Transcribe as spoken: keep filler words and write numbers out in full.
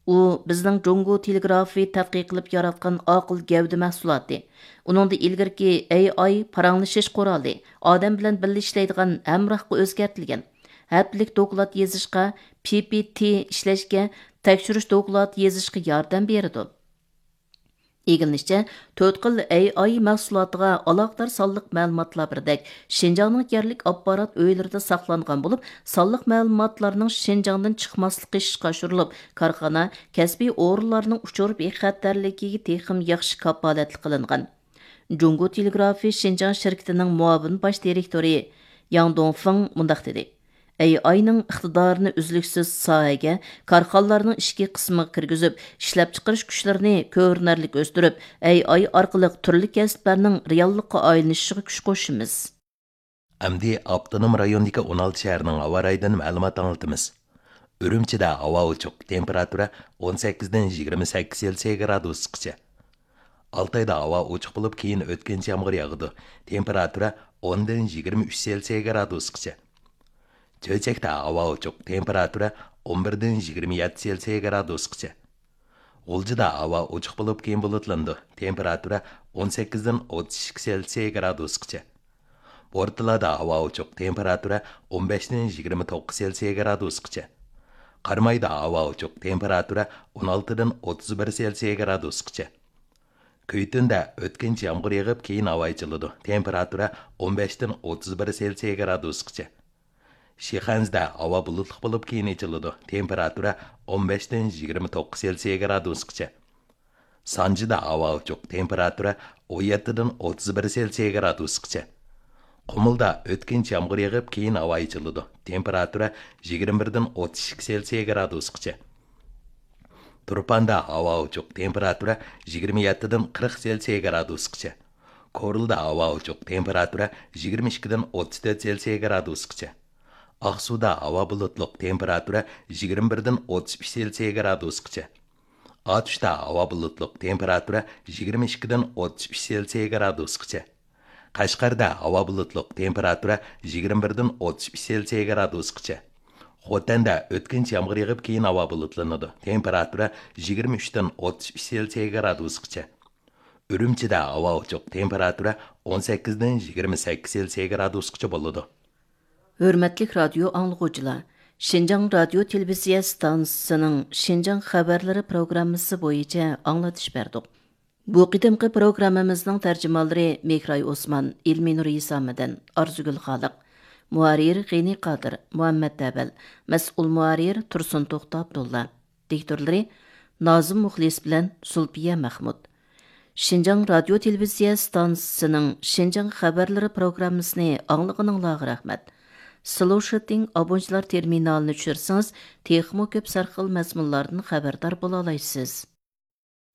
ئۇ بىزنىڭ جۇڭگو تېلېگرافى تەتقىق قىلىپ ياراتقان ئاقىل گەۋدە مەھسۇلاتى. ئۇنىڭدا ئىلگىرىكى ئەي ئاي پاراڭلىشىش قورالى، ئادەم بىلەن بىللە ئىشلەيدىغان ھەمراھقا ئۆزگەرتىلگەن. ھەپتىلىك دوكلات يېزىشقا، پى پى تى ئىشلەشكە، تەكشۈرۈش دوكلاتى يېزىشقا ياردەم بېرىدۇ. ئىگىلىنىشىچە، تۆت خىل ئەي ئاي مەھسۇلاتىغا ئالاقىدار سانلىق مەلۇماتلار بىردەك شىنجاڭنىڭ يەرلىك ئاپپارات ئۆيلىرىدە ساقلانغان بولۇپ، سانلىق مەلۇماتلارنىڭ شىنجاڭدىن چىقماسلىقى ئىشقا ئاشۇرۇلۇپ، كارخانا، كەسپىي ئورۇنلارنىڭ ئۇچۇر بىخەتەرلىكىگە تېخىمۇ ياخشى كاپالەتلىك قىلىنغان. جۇڭگو تېلېگرافى شىنجاڭ شىركىتىنىڭ مۇئاۋىن باش دىرېكتورى ياڭ دۇڭفېڭ مۇنداق دېدى: ئەي ئاينىڭ ئىقتىدارىنى ئۈزلۈكسىز ساھەگە، كارخانىلارنىڭ ئىچكى قىسمىغا كىرگۈزۈپ، ئىشلەپچىقىرىش كۈچلىرىنى كۆرۈنەرلىك ئۆستۈرۈپ، ئەي ئاي ئارقىلىق تۈرلۈك كەسىپلەرنىڭ رېئاللىققا ئايلىنىشىغا كۈچ قوشىمىز. ئەمدى ئاپتونوم رايوندىكى ئون ئالتە شەھەرنىڭ ھاۋا رايىدىن مەلۇمات ئاڭلىتىمىز. ئۈرۈمچىدە ھاۋا ئوچۇق، تېمپېراتۇرا ئون سەككىزدىن يىگىرمە سەككىز سېلسىيە گرادۇسقىچە. ئالتايدا ھاۋا ئوچۇق بولۇپ، كېيىن ئۆتكۈنچى يامغۇر ياغىدۇ، تېمپېراتۇرا ئوندىن يىگىرمە ئۈچ سېلسىيە گرادۇسقىچە. چۆچەكتە ھاۋا ئوچۇق، تېمپېراتۇرا ئون بىردىن يىگىرمە يەتتە سېلسىيە گرادۇسقىچە. غۇلجىدا ھاۋا ئوچۇق بولۇپ، كېيىن بۇلۇتلىنىدۇ، تېمپېراتۇرا ئون سەككىزدىن ئوتتۇز ئىككى سېلسىيە گرادۇسقىچە. بورتالادا ھاۋا ئوچۇق، تېمپېراتۇرا ئون بەشتىن يىگىرمە توققۇز سېلسىيە گرادۇسقىچە. قارامايدا ھاۋا ئوچۇق، تېمپېراتۇرا ئون ئالتىدىن ئوتتۇز بىر سېلسىيە گرادۇسقىچە. كۈيتۈندە ئۆتكۈنچى يامغۇر يېغىپ، كېيىن ھاۋا ئېچىلىدۇ، تېمپېراتۇرا ئون بەشتىن ئوتتۇز بىر سېلسىيە گرادۇسقىچە. شىخەنزىدە ھاۋا بۇلۇتلۇق بولۇپ، كېيىن ئېچىلىدۇ، تېمپېراتۇرا ئون بەشتىن يىگىرمە توققۇز سېلسىيە گرادۇسقىچە. سانجىدا ھاۋا ئوچۇق، تېمپېراتۇرا ئون يەتتىدىن ئوتتۇز بىر سېلسىيە گرادۇسقىچە. قۇمۇلدا ئۆتكۈنچى يامغۇر يېغىپ، كېيىن ھاۋا ئېچىلىدۇ، تېمپېراتۇرا يىگىرمە بىردىن ئوتتۇز ئىككى سېلسىيە گرادۇسقىچە. تۇرپاندا ھاۋا ئوچۇق، تېمپېراتۇرا يىگىرمە يەتتىدىن قىرىق سېلسىيە گرادۇسقىچە. كورلىدا ھاۋا ئوچۇق، تېمپېراتۇرا يىگىرمە ئىككىدىن ئوتتۇز تۆت سېلسىيە گرادۇسقىچە. ئاقسۇدا ھاۋا بۇلۇتلۇق، تېمپېراتۇرا يىگىرمە بىردىن ئوتتۇز ئۈچ سېلسىيە گرادۇسقىچە. ئاتۇشتا ھاۋا بۇلۇتلۇق، تېمپېراتۇرا يىگىرمە ئىككىدىن ئوتتۇز ئۈچ سېلسىيە گرادۇسقىچە. قەشقەردە ھاۋا بۇلۇتلۇق، تېمپېراتۇرا يىگىرمە بىردىن ئوتتۇز ئۈچ سېلسىيە گرادۇسقىچە. خوتەندە ئۆتكۈنچى يامغۇر يېغىپ، كېيىن ھاۋا بۇلۇتلىنىدۇ، تېمپېراتۇرا يىگىرمە ئۈچتىن ئوتتۇز ئۈچ سېلسىيە گرادۇسقىچە. ئۈرۈمچىدە ھاۋا ئوچۇق، تېمپېراتۇرا ئون سەككىزدىن يىگىرمە سەككىز سېلسىيە گرادۇسقىچە بولىدۇ. ھۆرمەتلىك رادىيو ئاڭلىغۇچىلار، شىنجاڭ رادىيو تېلېۋىزىيە ئىستانسىسىنىڭ شىنجاڭ خەۋەرلىرى پروگراممىسى بويىچە ئاڭلىتىش بەردۇق. بۇ قېتىمقى پروگراممىمىزنىڭ تەرجىمانلىرى مېھراي ئوسمان، ئىلمىنۇر ھېسامىدىن، ئارزۇگۈل خالىق، مۇھەررىر غېنى قادىر، مۇھەممەت ئەۋەل، مەسئۇل مۇھەررىر تۇرسۇن توختى ئابدۇللا. دىكتورلىرى نازىم مۇخلىس بىلەن زۇلپىيە مەخمۇت. شىنجاڭ رادىيو تېلېۋىزىيە ئىستانسىسىنىڭ شىنجاڭ خەۋەرلىرى پروگراممىسىنى ئاڭلىغىنىڭلارغا رەھمەت. سلوشىتىڭ ئابونچىلار تېرمىنالىنى چۈشۈرسىڭىز، تېخىمۇ كۆپ سەرخىل مەزمۇنلاردىن خەۋەردار بولالايسىز.